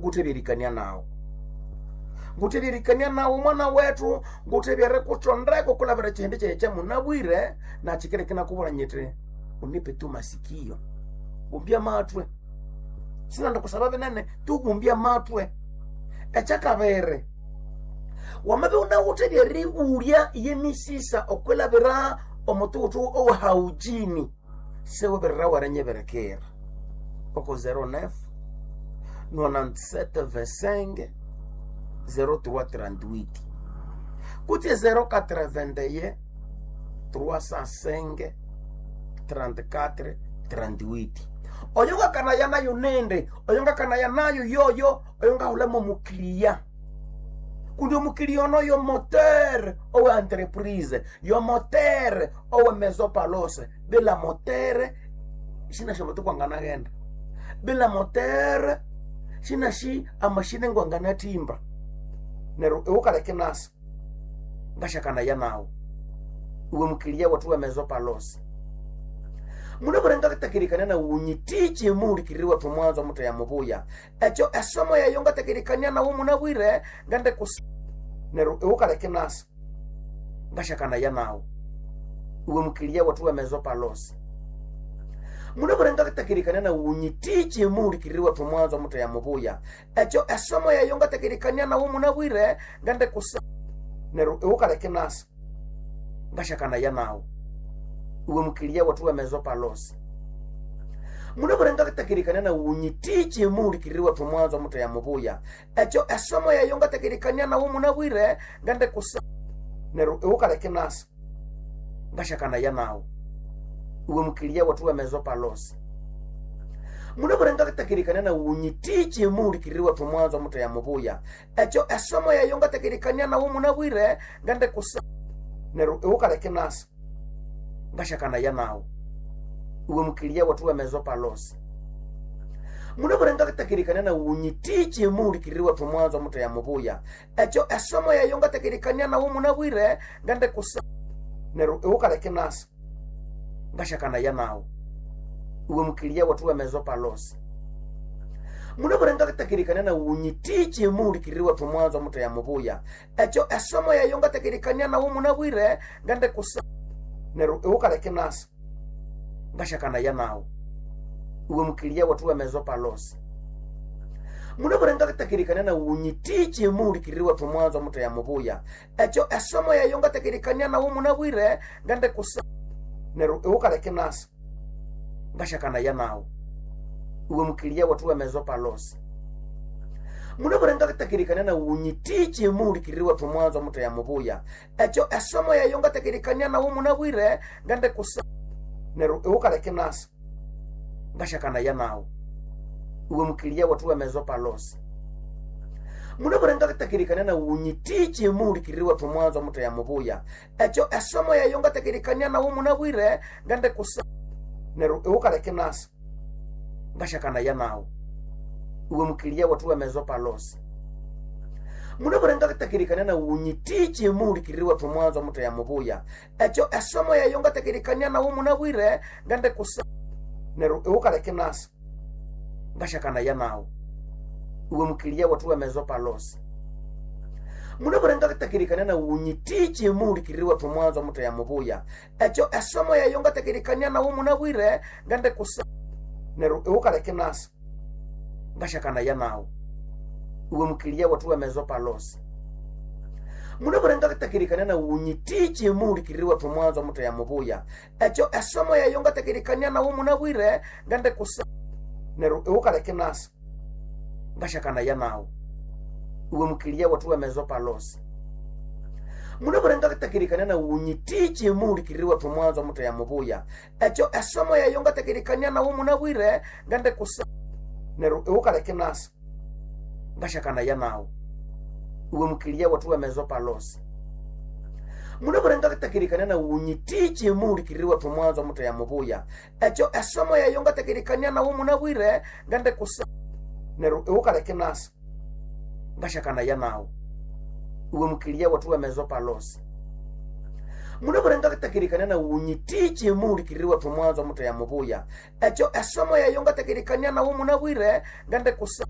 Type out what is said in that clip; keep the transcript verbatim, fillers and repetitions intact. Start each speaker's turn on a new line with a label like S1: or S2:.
S1: Ngutebyerikania nawe. Ngutebyerikania nawe mwana wetu, ngutebyere kutsondeko kulabira chihindi kyaye kyamunabwire na chikere kinakubwira nyiti unipe tu masikio. Gumbya matwe. Sinanda kusaba binene, tugumbya matwe. Ekyakabiri, wamabe unawuthe lyeribulya yemisisa okwilabira omutuwuthu owahaujini sewebirira warenyeberekera oko zero nine nonante-sept vingt-cinq zero trois trente-huit kutse zero quatre-vingt-un trois cent cinq trente-quatre trente-huit. Oyo ngakanaya nayo nende, oyo ngakanaya nayo yoyo, oyo ngahulamo mukiriya. Kundi omukiriya ono yo moteur owe entreprise, yo moteur owe maison palose. Bila moteur sina shomoto kwanganaghenda. Bila moteur sina shi amashine ngwanganatimba. Neryo iwukaleke nasa ngashakanaya nawe. Iwe mukiriya wethu we maison palose. Munabwire ngatakirikania nawe unyitiche muhulikiriri wethu mwanzo mutheya mubuya. Ekyo esomo yayo ngatakirikania nawe munabwire ngende kus neryo iwukaleke nasa ngashakanaya nawe. Iwe mukiriya wethu we maison palose. Munabwire ngatakirikania nawe unyitiche muhulikiriri wethu mwanzo mutheya mubuya. Ekyo esomo yayo ngatakirikania nawe munabwire ngende kus neryo iwukaleke nasa ngashakanaya nawe. Iwe mukiriya wethu we maison palose. Munabwire ngatakirikania nawe unyitiche muhulikiriri wethu mwanzo mutheya mubuya. Ekyo esomo yayo ngatakirikania nawe munabwire ngende kus neryo iwukaleke nasa ngashakanaya nawe. Iwe mukiriya wethu we maison palose. Munabwire ngatakirikania nawe unyitiche muhulikiriri wethu mwanzo mutheya mubuya. Ekyo esomo yayo ngatakirikania nawe munabwire ngende kus neryo iwukaleke nasa ngashakanaya nawe. Iwe mukiriya wethu we maison palose. Munabwire ngatakirikania nawe unyitiche muhulikiriri wethu mwanzo mutheya mubuya. Ekyo esomo yayo ngatakirikania nawe munabwire ngende kus neryo iwukaleke nasa ngashakanaya nawe. Iwe mukiriya wethu we maison palose. Munabwire ngatakirikania nawe unyitiche muhulikiriri wethu mwanzo mutheya mubuya. Ekyo esomo yayo ngatakirikania nawe munabwire ngende kus neryo iwukaleke nasa ngashakanaya nawe. Iwe mukiriya wethu we maison palose. Munabwire ngatakirikania nawe unyitiche muhulikiriri wethu mwanzo mutheya mubuya. Ekyo esomo yayo ngatakirikania nawe munabwire ngende kus neryo iwukaleke nasa ngashakanaya nawe. Iwe mukiriya wethu we maison palose. Munabwire ngatakirikania nawe unyitiche muhulikiriri wethu mwanzo mutheya mubuya. Ekyo esomo yayo ngatakirikania nawe munabwire ngende kus neryo iwukaleke nasa ngashakanaya nawe. Iwe mukiriya wethu we maison palose. Munabwire ngatakirikania nawe unyitiche muhulikiriri wethu mwanzo mutheya mubuya. Ekyo esomo yayo ngatakirikania nawe munabwire ngende kus neryo iwukaleke nasa ngashakanaya nawe. Iwe mukiriya wethu we maison palose. Munabwire ngatakirikania nawe unyitiche muhulikiriri wethu mwanzo mutheya mubuya. Ekyo esomo yayo ngatakirikania nawe munabwire ngende kus neryo iwukaleke nasa ngashakanaya nawe. Iwe mukiriya wethu we maison palose. Munabwire ngatakirikania nawe unyitiche muhulikiriri wethu mwanzo mutheya mubuya. Ekyo esomo yayo ngatakirikania nawe munabwire ngende kus neryo iwukaleke nasa ngashakanaya nawe. Iwe mukiriya wethu we maison palose. Munabwire ngatakirikania nawe unyitiche muhulikiriri wethu mwanzo mutheya mubuya. Ekyo esomo yayo ngatakirikania nawe munabwire ngende kus neryo iwukaleke nasa ngashakanaya nawe. Iwe mukiriya wethu we maison palose. Munabwire ngatakirikania nawe unyitiche muhulikiriri wethu mwanzo mutheya mubuya. Ekyo esomo yayo ngatakirikania nawe munabwire ngende kus neryo iwukaleke nasa ngashakanaya nawe. Iwe mukiriya wethu we maison palose. Munabwire ngatakirikania nawe unyitiche muhulikiriri wethu mwanzo mutheya mubuya. Ekyo esomo yayo ngatakirikania nawe munabwire ngende kus neryo iwukaleke nasa ngashakanaya nawe. Iwe mukiriya wethu we maison palose. Munabwire ngatakirikania nawe unyitiche muhulikiriri wethu mwanzo mutheya mubuya. Ekyo esomo yayo ngatakirikania nawe munabwire ngende kus